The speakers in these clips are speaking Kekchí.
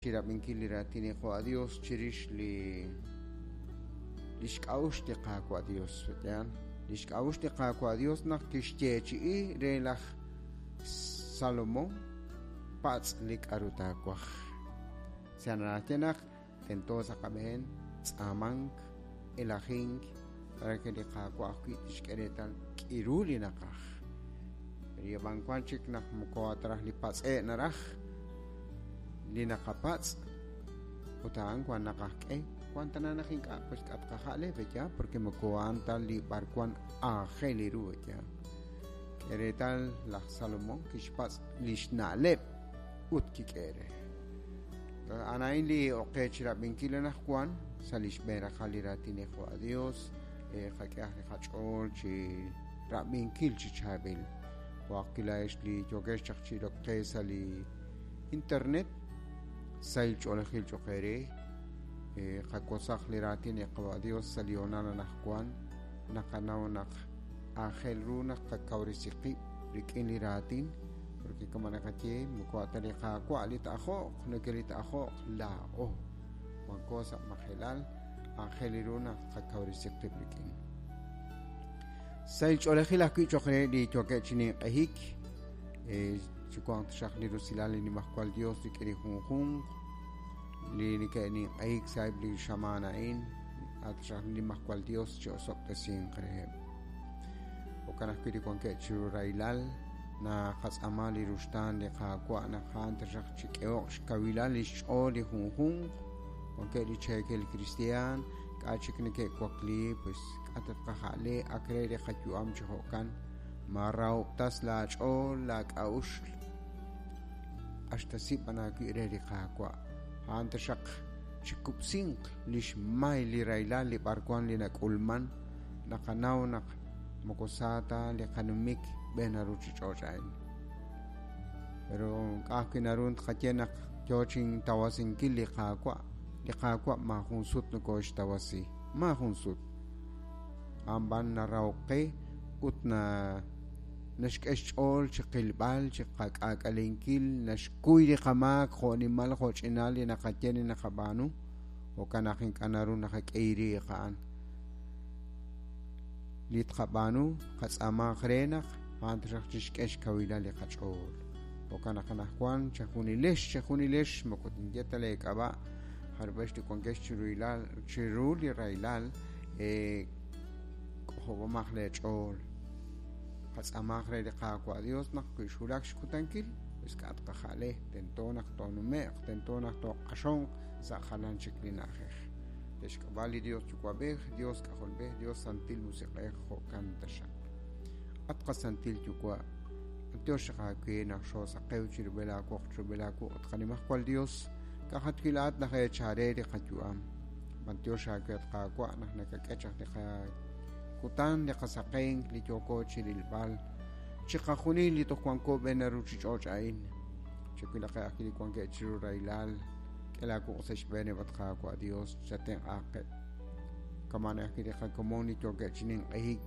Chirab'inkil li raatin li Qaawa' Dios chirix li lix k'a'uxl li Qaawa' Dios. Yaal, lix k'a'uxl li Qaawa' Dios naq kixyeechi'i re laj Salomón patz' li k'a'ru taawaj. Sa' naraj naq tento sa' qab'een tz'aamank, elajink, re que li Qaawa' ajwi' tixk'e reetal k'iru li naqaj. Pero wan chik naq moko atraj li patz'e' naraj li naqapatz' ut a'an wan naqajk'e wan tana naq ink'a' pues k'atqaja'le ya porque moko a'an ta li b'arwan aajel li ru ya. K'e reetal laj Salomón kixpatz' lix na'leb' ut kik'e re. A'an li oqe chirab'inkil anaqwan sa' lix b'een raqal li raatin li Qaawa' Dios qak'ehaq li qach'ool chi rab'inkil chi chaab'il. Jo'aq li yokex chaq chi roqe sa' li internet sahil ch'oolejil cho'q eere qak'osaq li raatin li Qaawa' Dios sa' li hoonal anaqwan naqanaw naq aajel ru naq qakawresi qib' rik'in li raatin porque como naqaye moko ata li Qaawa' li ta'ajo'q neke li ta'ajo'q laa'o wanko sa' majelal aajel ru naq qakawresi qib' rik'in. Sahil ch'oolejil ajwi' cho'q re li yookeb' chi ninq'ehik chiwanq taxaq li rusilal li nimajwal Dios rik'in li junjunq li neke'ninq'ehik sa'eb' li xamaan a'in ataxaq li nimajwal Dios chi osob'tesinq reheb'. Jo'kan ajwi' li wankeb' chiru rahilal naqatz'aama li ruxtaan li Qaawa' naq a'an taxaq chik'ehoq xkawilal li xch'ool li junjunq wankeb' li cheekel cristian k'a' chik neke'wakli pues k'a' tatqaja'le ak re li qayu'am chi jo'kan ma rahob'tas laach'ool laak'a'uxl q'axtasib' b'an aawi' re li Qaawa' a'an taxaq chikub'sinq lix may li rahilal li b'arwan li nak'ulman naqanaw naq moko sa ta li qanumik b'een ruchich'och' a'in. Pero k'a'ajwi' naru tqaye naq yoo chintawasinkil li Qaawa' li Qaawa' maajun sut nokoxtawasi maajun sut a'an b'an narahok qe ut na naxk'e xch'ool chi qilb'al chi qak'aak'alenkil naxkuy li qamaak jo'nimal jo'ch'inal li naqaye li naqab'aanu jo'kan naq ink'a' naru naqak'e riiq a'an li tqab'aanu qatz'aamanq re naq a'an taxaq chixk'e xkawilal li qach'ool. Jo'kan naq anaqwan chajunilex chajunilex moko tinye ta leek'ab'a' jarub'ex li wankex chiru li rahilal k'ojob'omaq leech'ool qatz'aamanq re li Qaawa' Dios naq wi xwulak xkutankil pues k'a' tqaja'le tento naq toonume'q tento naq tooq'axonq sa' jalan chik li na'ajej. Lix k'ab'a' li Dios Yuwa'b'ej, Dios K'ajolb'ej, Dios Santil Musiq'ej jo'kan taxaq. At qasantil Yuwa', Dios xaqaawe naq xoosaqew chirub'el aawoq chirub'el aawuq' ut qanimajwal Dios k'ajatwil aat naq eechare li qayu'am. B'antiox aawe at Qaawa' naq nakak'e chaq li qakutan li qasaqenk li yooko chirilb'al chiqajunil li toj wanko b'een ruchich'och' a'in. Chawilaqeb' ajwi' li wankeb' chiru rahilal k'e laawuq' sa' xb'eeneb' at Qaawa' Dios chatenq'aaqeb'. Kama'an ajwi' li qakomon li yookeb' chi ninq'ehik.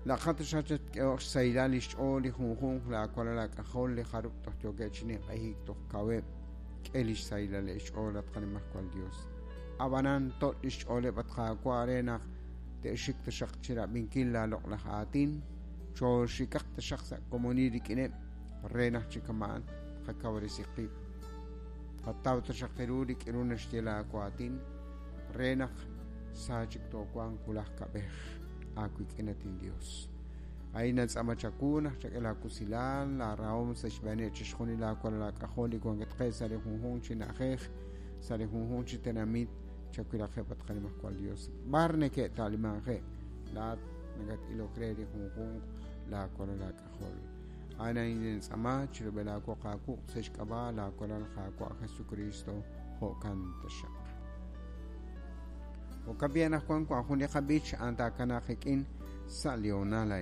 Laqat xachatk'ehoq xsahilal li xch'ool li junjunq laawalal laak'ajol li jarub' toj yookeb' chi ninq'ehik toj kaweb' k'e li xsahilal li xch'ool at qanimajwal Dios. Ab'anan tot' li xch'ooleb' at Qaawa' re naq te'xik taxaq chirab'inkil laaloq'laj aatin chooxikaq taxaq sa' komonil rik'ineb' re naq chi kama'an qakawresi qib'. Qataw taxaq ru rik'in ru naxye laawaatin re naq sa chik toowanq wulaj kab'ej aawik'in at inDios. A'in natz'aama chawu naq chak'e laakusilal laarahom sa' xb'eeneb' chixjunil laawalal laak'ajol li wankatqe' sa' li junjunq chi na'ajej sa' li junjunq chi tenamit chawilaqeb' at qanimajwal Dios. B'ar neke'ta'limanqe' laat nakat'ilok re li junjunq laawalal laak'ajol. A'in natz'aama chirub'el aawoq aawuq' sa' xk'ab'a' laawalal Qaawa' Jesucristo jo'kan taxaq. Jo'kan b'i anaqwan wan jun li qab'ich a'an taakanaq qik'in sa' li hoonal.